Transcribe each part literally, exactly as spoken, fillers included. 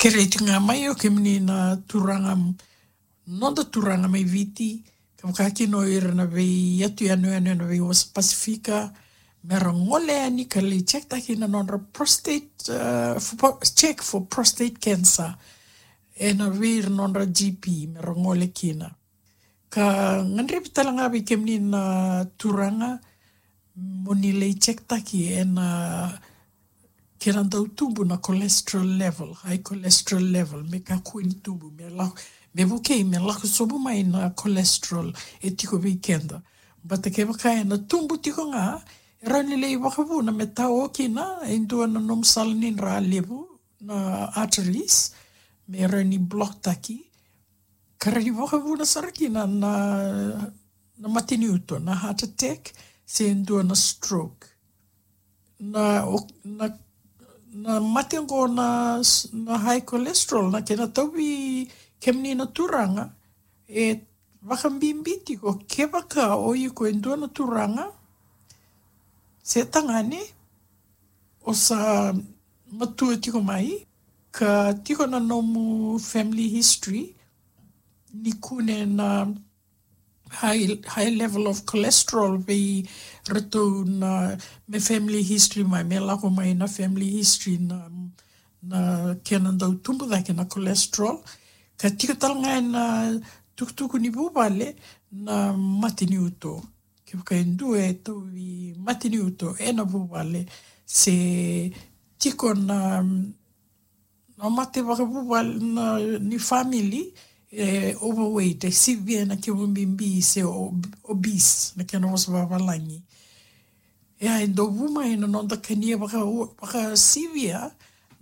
Kerei tiko ga mai o kemuni na turaga, noda turaga mai Viti, ka vaka kina o ira na veiyatu yanuyanu ena veiwasa Pasifika, me ra gole yani ka lai check taki na nodra prostate, uh, for, check for prostate cancer ena vei ira nodra G P, me ra gole kina. Ka gadrevi tale ga vei kemuni na turaga mo ni lai check taki ena kena dau tubu na cholesterol level, high cholesterol level, me kakua ni tubu, me lako, me vukei me lako sobu mai na cholesterol e tiko vei keda. But kevaka ena tubu tiko ga, e rawa ni lai vakavuna me tao kina e dua na nomu sala ni dra levu, na arteries, me rawa ni block taki, ka rawa ni vakavuna sara kina na, na mate ni uto, na heart attack, se dua na stroke. Na, o, na, na mate oqo na, na high cholesterol, na kena tauvi kemuni na turaga, e vakabibi tiko kevaka o iko e dua na turaga se tagane, o sa matua tiko mai, ka tiko na nomu family history ni kune na high, high level of cholesterol vei ratou na, me family history mai, me lako mai na family history na, na kena dau tubu cake na cholesterol. Ka tiko tale ga ena tukutuku ni vuvale na mate ni uto. Kevaka e dua e tauvi mate ni uto ena vuvale, se tiko na, na mate vakavuvale na, ni family, e overweight, e sivia na kemu bibi, se ob-, obese na kena vosa vavalagi. E a e dau vu mai na noda kania vaka, vakasivia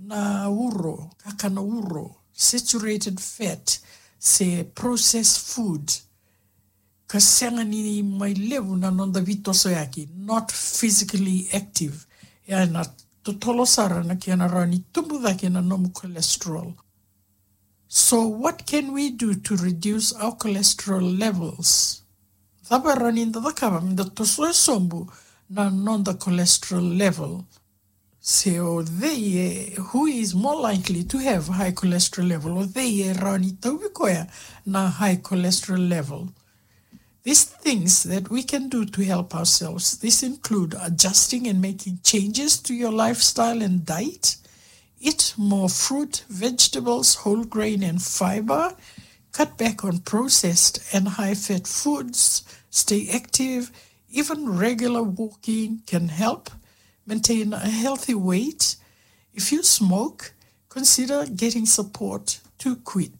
na uro, kakana uro, saturated fat, se processed food. Ka sega ni mai levu na noda veitosoyaki, not physically active. E a na totolo sara na kena rawa ni tubu cake na nomu cholesterol. So what can we do to reduce our cholesterol levels? Cava e rawa ni da cakava me da tosoya sobu na noda cholesterol level? Se o cei e, who is more likely to have high cholesterol level? O cei e rawa ni tauvi koya na high cholesterol level? These things that we can do to help ourselves, this include adjusting and making changes to your lifestyle and diet. Eat more fruit, vegetables, whole grain and fiber. Cut back on processed and high-fat foods. Stay active. Even regular walking can help maintain a healthy weight. If you smoke, consider getting support to quit.